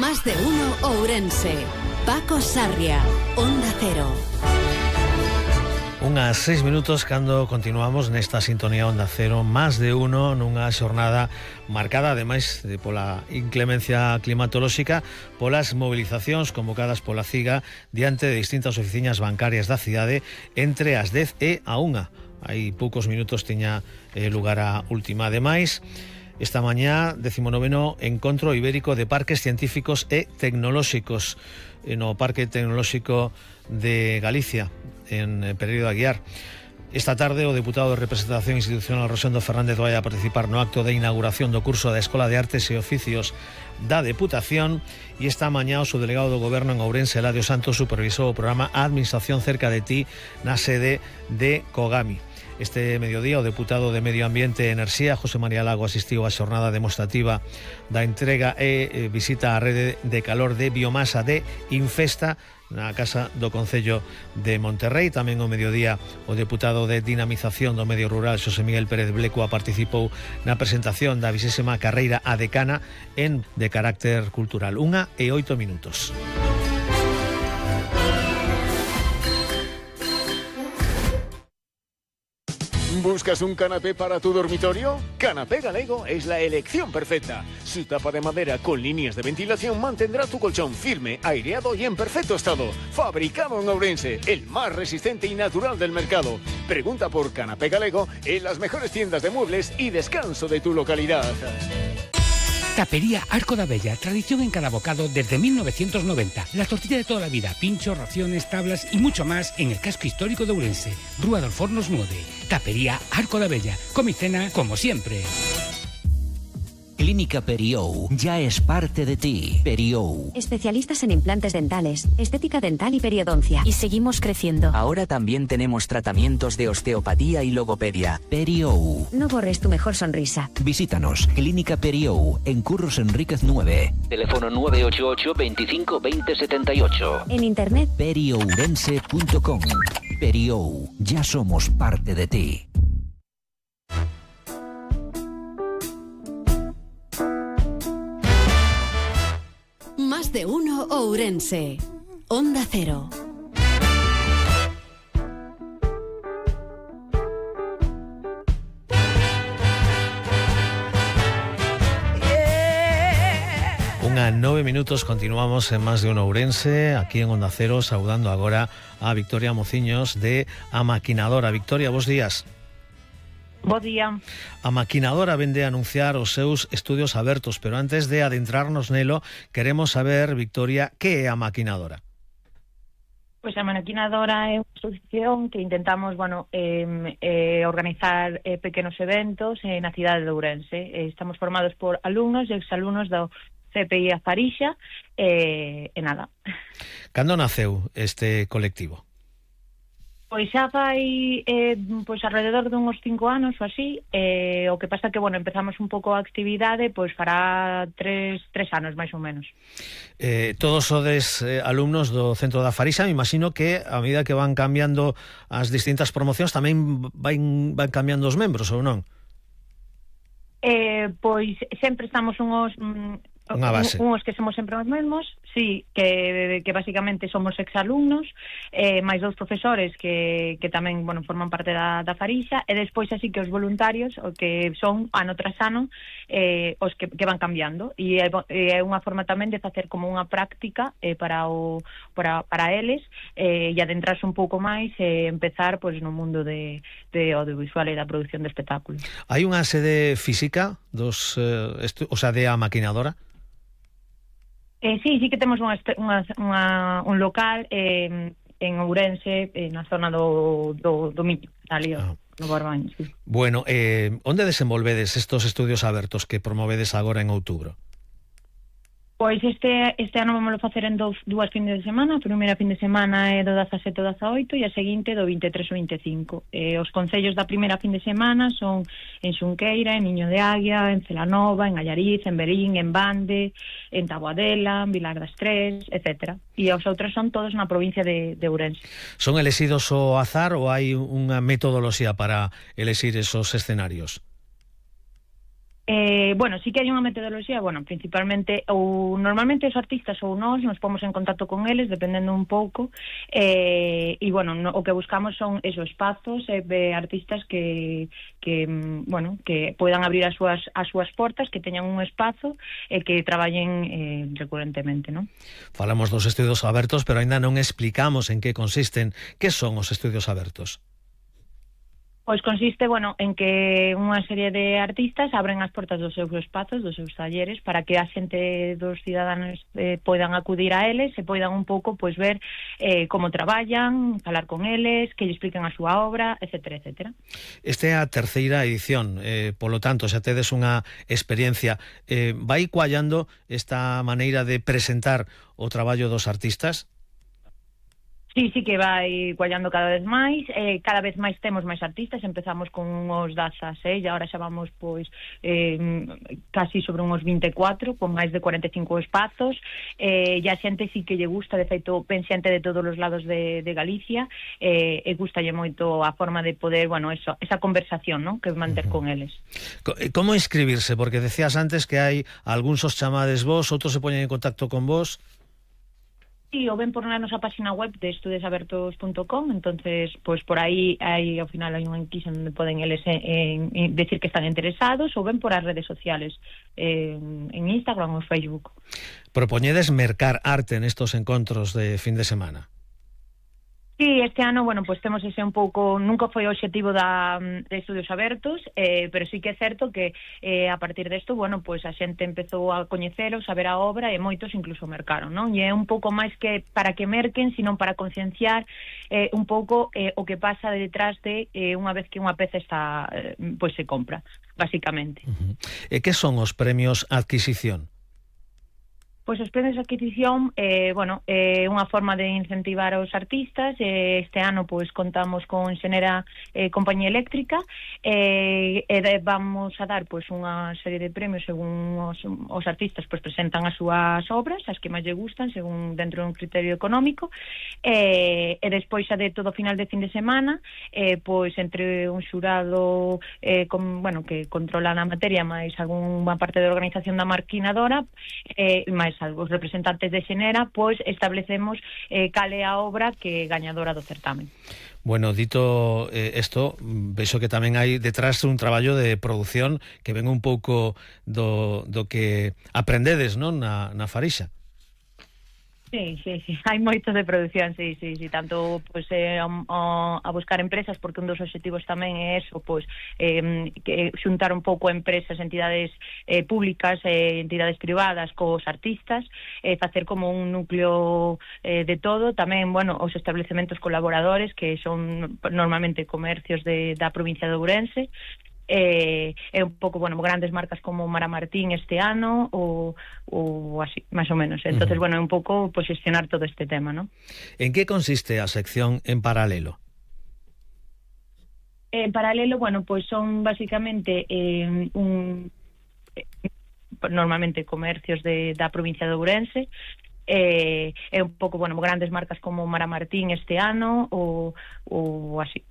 Más de uno Ourense. Paco Sarria, Onda Cero. Unhas 6 minutos cando continuamos nesta sintonía Onda Cero, Más de uno, nunha xornada marcada ademais pola inclemencia climatolóxica, polas movilizacións convocadas pola CIGA diante de distintas oficinas bancarias da cidade entre as 10 e a 1. Hai poucos minutos tiña lugar a última. Ademais, esta mañá, 19º Encontro Ibérico de Parques Científicos e Tecnolóxicos no Parque Tecnolóxico de Galicia, en Pereiro de Aguiar. Esta tarde o deputado de representación institucional Rosendo Fernández vai a participar no acto de inauguración do curso da Escola de Artes e Oficios da Deputación, e esta mañá o subdelegado do Goberno en Ourense, Eladio Santos, supervisou o programa Administración cerca de ti na sede de Cogami. Este mediodía o deputado de Medio Ambiente e Enerxía, José María Lago, asistiu á xornada demostrativa da entrega e visita á rede de calor de biomasa de Infesta na Casa do Concello de Monterrey. Tamén o mediodía o deputado de Dinamización do Medio Rural, Xosé Miguel Pérez Blecua, participou na presentación da 20ª carreira a decana de carácter cultural. 1:08. ¿Buscas un canapé para tu dormitorio? Canapé Galego es la elección perfecta. Su tapa de madera con líneas de ventilación mantendrá tu colchón firme, aireado y en perfecto estado. Fabricado en Ourense, el más resistente y natural del mercado. Pregunta por Canapé Galego en las mejores tiendas de muebles y descanso de tu localidad. Tapería Arco da Bella, tradición en cada bocado desde 1990. La tortilla de toda la vida, pinchos, raciones, tablas y mucho más en el casco histórico de Ourense. Rúa dos Fornos 9. Tapería Arco da Bella. Come y cena como siempre. Clínica Periou ya es parte de ti. Periou. Especialistas en implantes dentales, estética dental y periodoncia. Y seguimos creciendo. Ahora también tenemos tratamientos de osteopatía y logopedia. Periou. No borres tu mejor sonrisa. Visítanos. Clínica Periou, en Curros Enríquez 9. Teléfono 988 25 20 78. En internet periourense.com. Periou. Ya somos parte de ti. Más de uno Ourense. Onda Cero. Unha 9 minutos, continuamos en Más de uno Ourense, aquí en Onda Cero, saudando agora a Victoria Mociños de A Maquinadora. Victoria, bos días. Bo día. A Maquinadora vende a anunciar os seus estudios abertos, pero antes de adentrarnos nelo, queremos saber, Victoria, que é a Maquinadora? Pois a Maquinadora é unha asociación que intentamos, organizar pequenos eventos na cidade de Ourense. Estamos formados por alumnos e exalumnos do CPI A Farixa e nada. Cando naceu este colectivo? Pois xa fai alrededor de uns 5 anos ou así, o que pasa que, empezamos un pouco a actividade, fará 3 anos, máis ou menos. Todos sodes alumnos do Centro da Farixa, me imagino que a medida que van cambiando as distintas promocións tamén van cambiando os membros, ou non? Pois sempre estamos unhos que somos sempre os mesmos, sí, que basicamente somos exalumnos, máis 2 profesores que tamén, forman parte da Farixa, e despois así que os voluntarios, o que son ano tras ano, os que van cambiando, e é unha forma tamén de facer como unha práctica para eles, e adentrarse un pouco máis e empezar no mundo de audiovisual e da produción de espectáculos. Hai unha sede física de A Maquinadora? Sí que temos un local en Ourense, na zona do Miño, ali no Barbaño, sí. Bueno, onde desenvolvedes estos estudios abertos que promovedes agora en outubro? Pois este ano vamos a facer en dúas fines de semana. A primeira fin de semana é do 17 ao 18 e a seguinte do 23 ao 25. Os concellos da primeira fin de semana son en Xunqueira, en Niño de Águia, en Celanova, en Allariz, en Berín, en Bande, en Taboadela, en Vilar das Tres, etc. E os outros son todos na provincia de Ourense. Son elexidos ao azar ou hai unha metodoloxía para elexir esos escenarios? Bueno, sí que hai unha metodoloxía, bueno, principalmente, ou normalmente os artistas ou nós nos pomos en contacto con eles, dependendo un pouco, e, bueno, o que buscamos son esos espazos de artistas que poidan abrir as súas portas, que teñan un espazo e que traballen recurrentemente, non? Falamos dos estudios abertos, pero aínda non explicamos en que consisten. Que son os estudios abertos? Pois consiste, bueno, en que unha serie de artistas abren as portas dos seus espazos, dos seus talleres, para que a xente dos ciudadanos poidan acudir a eles e poidan un pouco pois ver como traballan, falar con eles, que lle expliquen a súa obra, etcétera, etcétera. Esta é a terceira edición, polo tanto, xa tedes unha experiencia. Vai coallando esta maneira de presentar o traballo dos artistas? Sí, que vai cuallando cada vez máis temos máis artistas, empezamos con uns 16 e agora xa vamos pois casi sobre uns 24, con máis de 45 espazos, e a xente sí que lle gusta, de feito ven xente de todos os lados de Galicia, e gustalle moito a forma de poder, bueno, esa conversación, ¿no?, que manter con eles. Como inscribirse? Porque decías antes que hai algúns os chamades vos, outros se poñen en contacto con vos. Sí, o ven por na nosa página web de estudiosabertos.com, entonces, pues por aí ao final hai un enquisa onde poden eles decir que están interesados, ou ven por as redes sociales, en Instagram ou Facebook. Propoñedes mercar arte nestos encontros de fin de semana? Sí, este ano, bueno, pues temos ese un pouco, nunca foi o obxectivo de Estudios Abertos, pero sí que é certo que a partir desto, bueno, pues a xente empezou a coñeceros, a ver a obra, e moitos incluso mercaron, non? E é un pouco máis que para que merquen, sino para concienciar un pouco o que pasa detrás de unha vez que unha peza está, pues se compra, basicamente. E que son os premios adquisición? Pois os premios de adquisición, unha forma de incentivar os artistas. Este ano pois contamos con Xenera Compañía Eléctrica, e vamos a dar pois unha serie de premios según os artistas pois presentan as súas obras, as que máis lle gustan, según dentro dun criterio económico, e despois xa de todo final de fin de semana, pois entre un xurado que controla na materia, máis algunha parte da organización da maquinadora, máis os representantes de Xenera, pois establecemos cal é a obra que gañadora do certamen. Bueno, dito isto, vexo que tamén hai detrás un traballo de produción que ven un pouco do que aprendedes, non, na Farixa. Sí, hai moito de produción, sí, tanto pois a buscar empresas, porque un dos obxectivos tamén é eso, pois que xuntar un pouco empresas, entidades públicas, entidades privadas cos artistas, facer como un núcleo de todo, tamén, bueno, os establecementos colaboradores, que son normalmente comercios da provincia de Ourense, é un pouco, bueno, grandes marcas como Mara Martín este ano ou así, máis ou menos. Entonces, bueno, é un pouco pues, xestionar todo este tema, ¿no? En que consiste a sección En Paralelo? En Paralelo, bueno, pues son basicamente normalmente comercios da provincia de Ourense, é un pouco, bueno, grandes marcas como Mara Martín este ano ou así, máis